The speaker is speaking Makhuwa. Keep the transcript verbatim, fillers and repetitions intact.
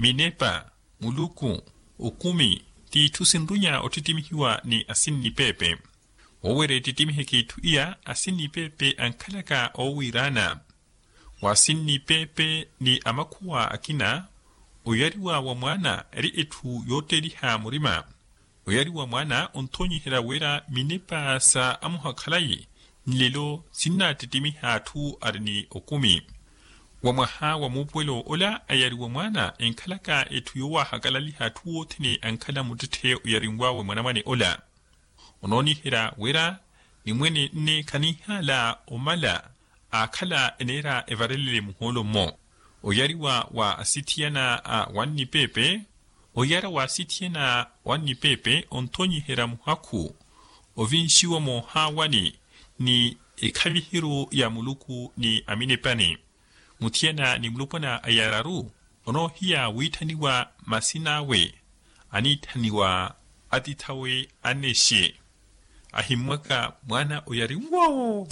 Minepa, muluku, okumi, t'itthu sinrunya ottittimihiwa ni asinnipeepe. Woowerya ettittimihe k'itthu iya asinnipeepe ankhalaka oowiiraana. Wa asinnipeepe ni amakhuwa akina, oyariwa wa mwaana eri etthu yootteliha murima. Oyariwa mwaana onthoonyiherya wira minepa sa amuhakhalayi nlelo sinnattittimiha atthu ari ni okumi. Wa mwaha wa muupuwelo ola ayariwa mwaana enkhalaka etthu yoowahakalaliha atthu othene ankhala muttetthe oyarinw'awe mwanamwane ola. Onooniherya wira nimwene nne khanihaala omala aakhala eneera evarelele muhoolo-mmo. Oyariwa wa asithiyana a wannipeepe. Oyara wa asithiyana wannipeepe onthoonyiherya muhakhu ovinxiwa moohaawani ni ekhavihiru ya muluku ni aminepani. Muthiyana ni mulopwana ayararu onoohiya wiitthaniwa masin'awe aniitthaniwa atith'awe annexe. Ahimmwaka mwaana oyari nwo.